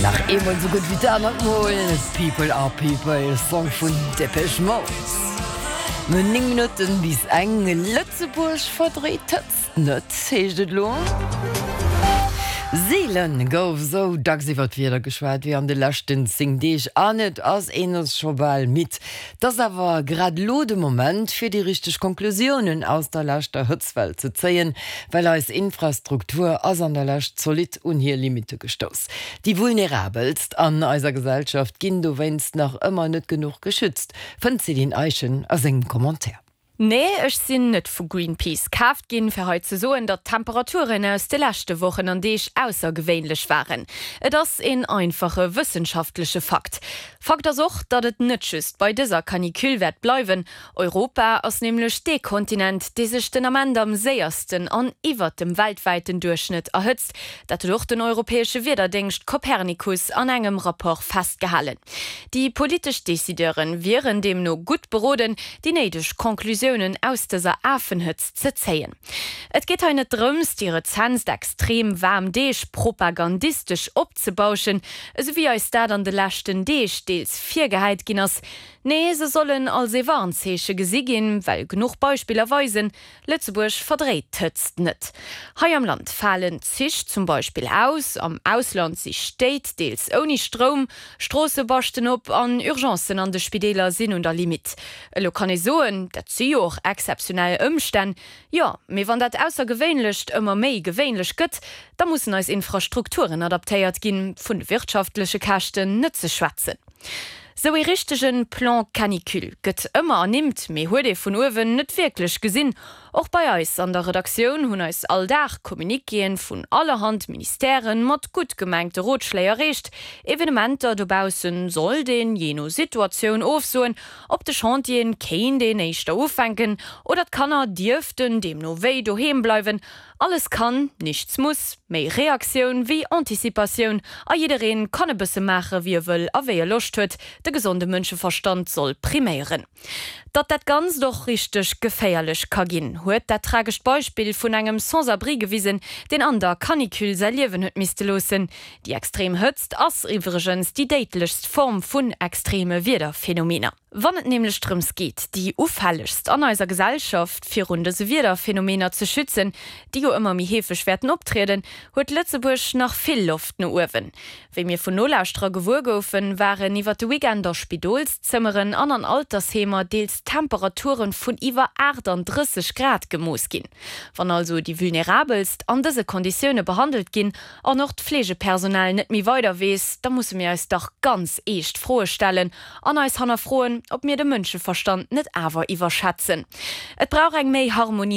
Nach eemol sou gutt wéi d'anert Mol, People are People, Song vun Depeche Mode. No 9 Minutten bis eng, Lëtzebuerg verdréit d'Hëtzt net, heescht et elo. Seelen gouf esou dacks iwwer d'Wieder geschwat wéi an de leschten 10 Deeg an et ass een ass scho bal midd. 't ass awer grad elo de Moment, fir déi richteg Konklusiounen aus der leschter Hëtztwell ze zéien, well eis Infrastruktur ass an der Lescht zolidd un hir Limitte gestouss. Déi Vulnerabelst an eiser Gesellschaft ginn dowéinst nach ëmmer net genuch geschützt, fënnt d'Céline Eischen a sengem Commentaire. Nee, ech sinn net vu Greenpeace kaaft ginn, fir hei ze soen, datt d'Temperaturen aus de leschte Wochen an Deeg aussergewéinlech waren. Et ass een einfache wëssenschaftleche Fakt. Fakt ass och, datt et net just bei dëser Canicule wäert bleiwen. Europa ass nämlech dee Kontinent, dee sech den Ament am séiersten an iwwert dem weltwäiten Duerchschnëtt erhëtzt. Dat huet och den europäesche Wiederdéngscht Copernicus an engem Rapport festgehalen. Déi politesch Decideure wieren deemno gutt beroden, déi néideg Conclusiounen aus dëser Afenhëtzt ze zéien. Et geet hei net drëms, déi rezentst extrem waarm Deeg propagandistesch opzebauschen, esou wéi eis dat an de leschten Deeg deels virgehäit ginn ass. Nee, se sollen als ee Warnzeeche gesi ginn, well genuch Beispiller weisen, Lëtzebuerg verdréit d'Hëtzt net. Hei am Land falen Zich zum Beispill aus, am Ausland si Stéit deels ouni Stroum, Stroosse baschten op an Urgencen an de Spideeler sinn un der Limitt. Elo kann ee soen, dat si jo och exzeptionell Ëmstänn. Jo, mee wann dat Aussergewéinlecht ëmmer méi gewéinlech gëtt, da mussen eis Infrastrukturen adaptéiert ginn, vun de wirtschaftleche Käschten net ze schwätzen. Sou ee richtegen Plan canicule gëtt ëmmer ernimmt, mee huet ee vun uewen net wierklech gesinn. Och bei eis an der Redaktioun hunn eis all Dag Communiquéen vun allerhand Ministèren mat gutt gemengte Rotschléi erreecht. Evenementer dobaussen sollt een, jee no Situatioun, ofsoen, op de Chantieren kéint een éischter ufänken oder d'Kanner dierften deemno wéi doheem bleiwen. Alles kann, nichts muss, méi Reaktioun wéi Anticipatioun a jiddereen kann e bësse maache wéi e wëll a wéi e Loscht huet, de gesonde Mënscheverstand soll priméieren. Datt dat Ganzt och richteg geféierlech ka ginn, huet dat tragescht Beispill vun engem Sans-abri gewisen, deen an der Canicule säi Liewen huet misste loossen. Déi extrem Hëtzt ass iwwregens déi déidlechst Form vun extreme Wiederphenomener. Wann et nämlech drëms geet, déi Ufällegst an eiser Gesellschaft virun dëse Wiederphenomener ze schützen, déi jo ëmmer méi heefeg wäerten optrieden, huet Lëtzebuerg nach vill Loft no uewen. Wéi mir vun Nolauschterer gewuer goufen, waren iwwer de Weekend a Spidolszëmmeren an an Altersheemer deels Temperature vun iwwer 38 Grad gemooss ginn. Wann also déi Vulnerabelst an dëse Konditioune behandelt ginn an och d'Fleegepersonal net méi weider weess, da musse mir eis dach ganz eescht Froe stellen an eis hannerfroen, ob mir de Mënscheverstand net awer iwwerschätzen. Et brauch eng méi harmoniséiert.